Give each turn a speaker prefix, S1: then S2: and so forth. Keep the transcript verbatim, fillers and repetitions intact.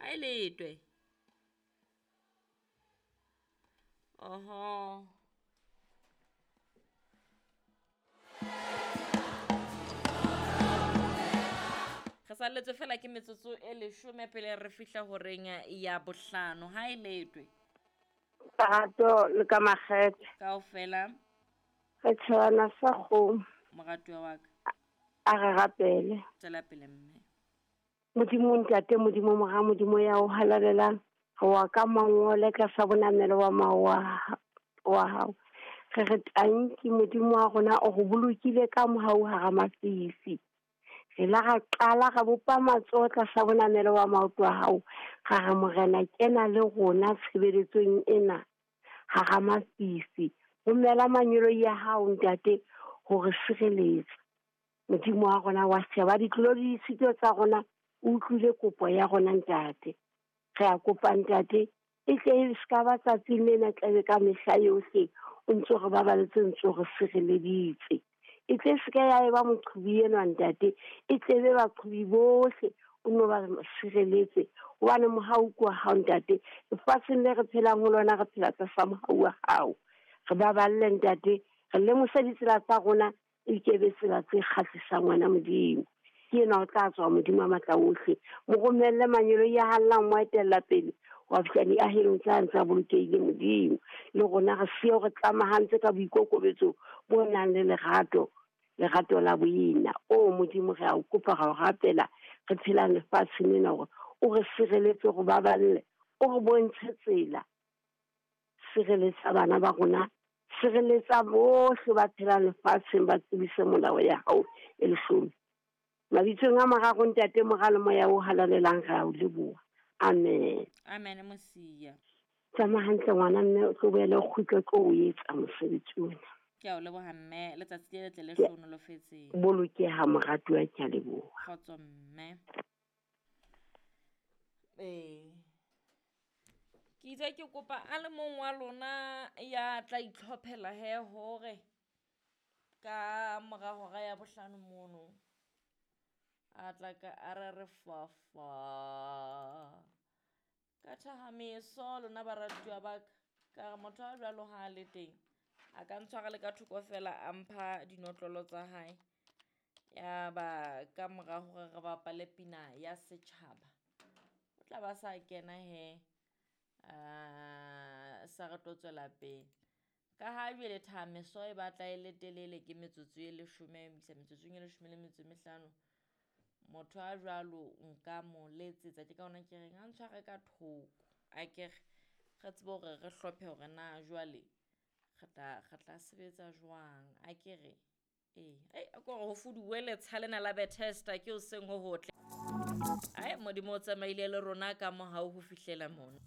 S1: Ha e letwe. Oho. Re salletswe fela ke metsotso e leshome pele re fihla horeng ya bohlano. Ha e letwe.
S2: Lerato le ka makgethe.
S1: Kaofela.
S2: Re tshwana sa kgomo.
S1: Moratuwa wa ka.
S2: A re rapele.
S1: Tswela pele mme.
S2: Modimo ntate, Modimo mora, Modimo ya o halalelang. Re wa ka mangole tlasa bonamelo wa mawa wa hao. Re re tanki Modimo wa rona o re bolokile ka mohau hara mafifi. Re la ra qala ra bopa matsoho tlasa bonamelo wa maoto a hao. Ra re Morena kena le rona tshebeletsong ena hara mafifi. Romela mangeloi a hao ntate hore sireletsa. Modimo wa rona wa sheba ditlolo le ditshito tsa rona, o utlwile kopo ya rona ntate. Re a kopa ntate, e tle e ska ba tsatsing lena tlabe ka mehla yohle o ntso re babaletse, ntso re sireleditse. E tle se ka ya eba moqhubi enwa ntate, e tle be baqhubi bohle o no ba sireletse. Hobane mohau ke wa hao ntate, lefatsheng le re phelang ho lona re phela tlasa mohau wa hao. Re baballe ntate, re lemose ditsela tsa rona e ke be tsela tse kgahlisang wena Modimo. Ke ena o tla tswa Modimo a matla ohle. Mo romelle mangeloi a hallang mo etella pele wa fihla diahelong tsa ntse a bolokehile Modimo. Le rona re siyo re tlamahantse ka boikokobetso bo nang le lerato, lerato la boena. O Modimo re a o kopa, ra o rapela, re phelang lefatsheng lena hore o re sireletse, o re baballe, o re bontshe tsela. Sireletsa bana ba rona, sireletsa bohle ba phelang lefatsheng, ba tsebise molao ya hao e leshome. Mabitsong a mararo ntate, Mora le Moya o halalelang, re a o leboha. Amen.
S1: Amen Mosia.
S2: Tsamaya hantle ngwana mme, o tlo boele o kgutle tlo o etsa mosebetsi ona.
S1: Ke a o leboha mme, letsatsi le letle le hlohonolofetseng.
S2: Bolokeha moratuwa, ke a leboha.
S1: Kgotso mme. Ee. Ke itse ke kopa a le mong wa lona ya tla itlhophela he hore ka mora hora ya bohlano mono a tla ka a re re fafa. Ka thahameso lona baratuwa ba ka, ka re motho a jwalo ha a le teng a ka ntshwara le ka thoko fela a mpha dinotlolo tsa hae. Ya ba ka mora hore re bapale pina ya setjhaba, o tla ba sa kena he, a sa re tlo tswela pele. Ka ha jwale thahameso e batla e le telele, ke metsotso e leshome ho isa metsotsong e leshome le metso e mehlano. Motho a jwalo nka mo letsetsa, ke ka hona ke reng a ntshware ka thoko. A ke re re tsebe hore re hlophe hore na jwale re tla re tla sebetsa jwang. A ke re ee, ai a ko re ho fuduwe letsha lena la Bethesda ke hoseng ho hotle. Ai Modimo o tsamaile le rona ka mohau ho fihlela mona.